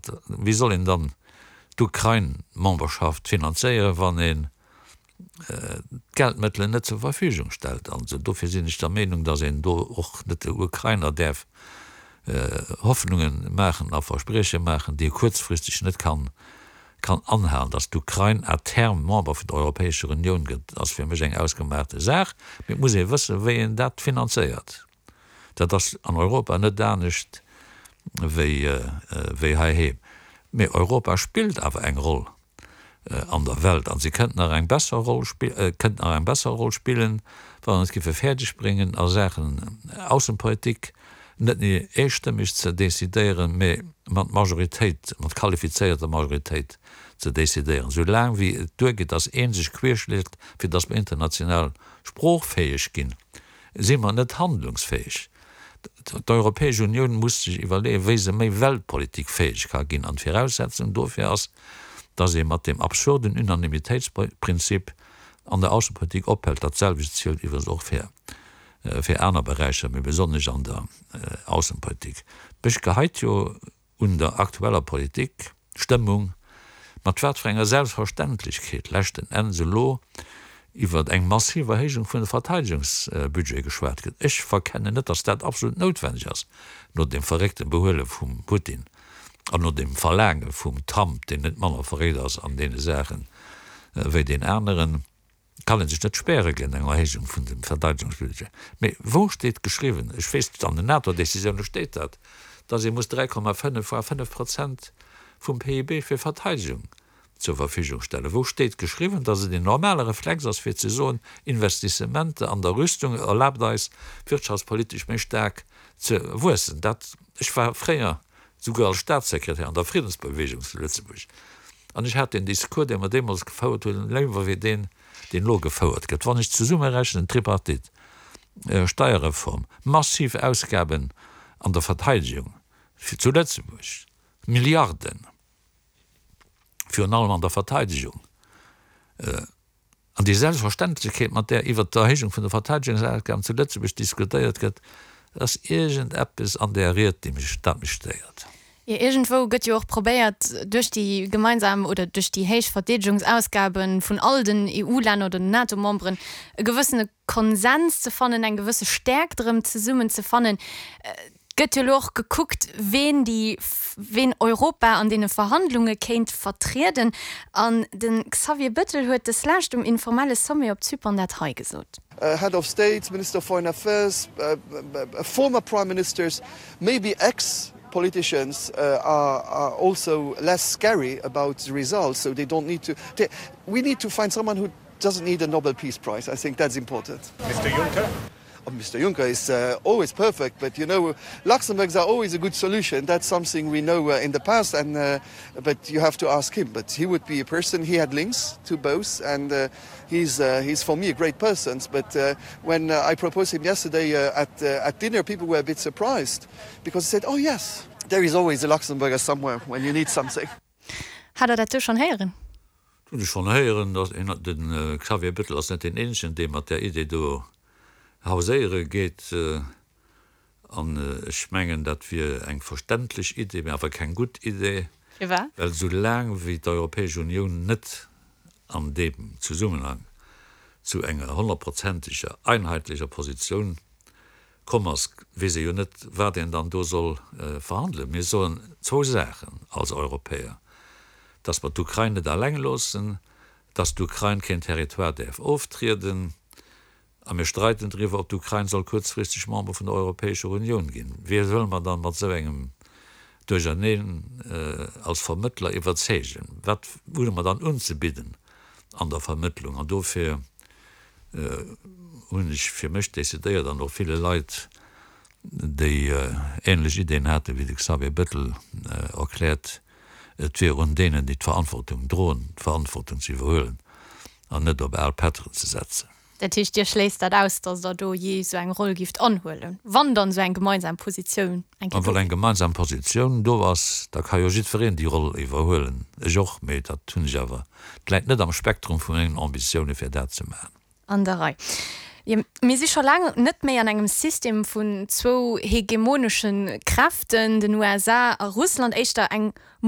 dat? Wéi soll een dann d'Ukrain-Memberschaft finanzéieren, wann een d'Geldmëttelen net zur Verfügung stellt? Also dofir sinn ech der Meenung, datt een do och net de Ukrainer däerf Hoffnunge maachen a Versprieche maachen, déi e kuerzfristeg net kann kann anhalen. Datt d'Ukrain à terme Member vun der Europäescher Unioun gëtt, ass fir mech eng ausgemaachte Saach, mee et muss ee wëssen, wéi een dat finanzéiert. Dat ass an Europa net anescht wéi heiheem. Mee Europa spillt awer eng Roll an der Welt a si kënnt nach eng besser Roll kënnt nach eng besser Roll spillen, wa mer et géife fäerdeg bréngen a Saachen Aussenpolitik net méi eestëmmeg ze decidéieren, mee mat Majoritéit, mat qualifizéierter Majoritéit ze decidéieren. Esou laang wéi et duergeet, datt ee sech querschléit, fir datt mer international sproochfäeg ginn, si mer net handlungsfäeg. D'Europäesch Unioun muss sech iwwerleeën, wéi se méi weltpolitikfäeg ka ginn. An d'Viraussetzung dofir ass, datt ee mat deem absurden Unanimitéitsprinzip an der Aussepolitik ophält. Dat selwecht zielt iwwregens och fir fir aner Beräicher, mee besonnesch an der Aussepolitik. Mech geheit jo un der aktueller Politik, Stëmmung, mat wat fir enger Selbstverständlechkeet leschten Enns elo iwwer eng massiv Erhéijung vun de Verteidegungsbudget geschwat gëtt. Ech verkennen net, datt dat absolut noutwenneg ass, no deem verréckte Behuele vum Putin an no deem Verlaange vum Trump, deen net manner verréckt ass an deene Saache wéi deen aneren. Kann ee sech net späre géint eng Erhéijung vun dem Verteidegungsbudget. Mee wou steet geschriwwen, ech weess, an den NATO-Décisioune steet dat, datt ee muss 3,5 voire 5 Prozent vum PIB fir Verteidegung zur Verfügung stellen? Wou steet geschriwwen, datt et een normale Reflex ass fir ze soen, Investissementer an der Rüstung erlaabt eis, wirtschaftspolitesch méi staark ze wuessen? Dat, ech war fréier souguer als Staatssekretär an der Friddensbewegung zu Lëtzebuerg, an ech hat deen Discours, dee mer deemools gefouert hunn, léiwer wéi deen, deen elo gefouert gëtt. Wann ech zesummerechnen, Tripartite, Steierreform, massiv Ausgaben an der Verteidigung fir zu Lëtzebuerg, Milliarden, virun allem an der Verteidigung, An déi Selbstverständlechkeet, mat där iwwert d'Erhéijung vun de Verteidegungsausgaben zu Lëtzebuerg diskutéiert gëtt, ass iergendeppes an där Ried, déi mech, dat mech stéiert. Jo, iergendwou gëtt jo och probéiert, duerch déi gemeinsam oder duerch déi héich Verdeedegungsausgabe vun all den EU-Länner oder den NATO-Memberen e gewëssene Konsens ze fannen, eng gewësse Stäerkt erëm zesummen ze fannen. Et gëtt jo elo och gekuckt, ween déi, ween Europa an deene Verhandlunge kéint vertrieden. An de Xavier Bettel huet deslescht um informelle Sommet op Zypern dat hei gesot. Head of States, Minister of Foreign Affairs, former Prime Ministers, maybe ex-politicians are also less scary about the results, so they don't need to, we need to find someone who doesn't need a Nobel Peace Prize, I think that's important. Mister Juncker? Oh, Mister Juncker is uh, always perfect, but you know, Luxembourgs are always a good solution. That's something we know uh, in the past, and uh, but you have to ask him. But he would be a person, he had links to both, and uh, he's, uh, he's for me a great person. But uh, when uh, I proposed him yesterday uh, at, uh, at dinner, people were a bit surprised because they said, oh yes, there is always a Luxembourger somewhere when you need something. Hat Der dat do schonn héieren? Dat hunn ech schonn héieren. De Xavier Bettel ass net deen eenzegen, dee mat där Idee do hauséiere geet. An ech mengen, dat wier eng verständlech Idee, mä awer keng gutt Idee, Firwat? well esou laang wéi d'Europäesch Unioun net an deem Zesummenhang zu enger honnertprozenteger, einheitlecher Positioun komm ass, weess ee jo net, wat een dann do soll verhandelen. Mir soen zwou Saachen als Europäer, dass mer d'Ukrain net alleng loossen, dass d'Ukrain keen Territoire däerf oftrieden, a mir streiden driwwer, ob d'Ukrain soll kuerzfristeg Member vun der Europäescher Unioun ginn. Wie wëlle mer dann mat esou engem Duercherneen als Vermëttler iwwerzeegen? Wat hunn mer dann unzebidden an der Vermëttlung? An dofir hunn ech fir mech decidéiert, an och ville Leit, déi ähnlech Ideen haten wéi de Xavier Bettel, erkläert, et wier un deenen, déi d'Verantwortung droen, d'Verantwortung ze iwwerhuelen an net op al Pätteren ze setzen. Dat heescht, Dir schléisst dat aus, datt Der do jee esou eng Roll gifft anhuelen, wann dann esou eng gemeinsam Positioun eng Kéier do wier? Wann eng gemeinsam Positioun do ass, da ka jo jiddwereen déi Roll iwwerhuelen, ech och, mee dat hunn ech awer, et läit net am Spektrum vu mengen Ambitioune fir dat ze maachen. An der Rei. Jo, mir si scho laang net méi an engem System vun zwou hegemonesche Kräften, den USA a Russland, éischter eng.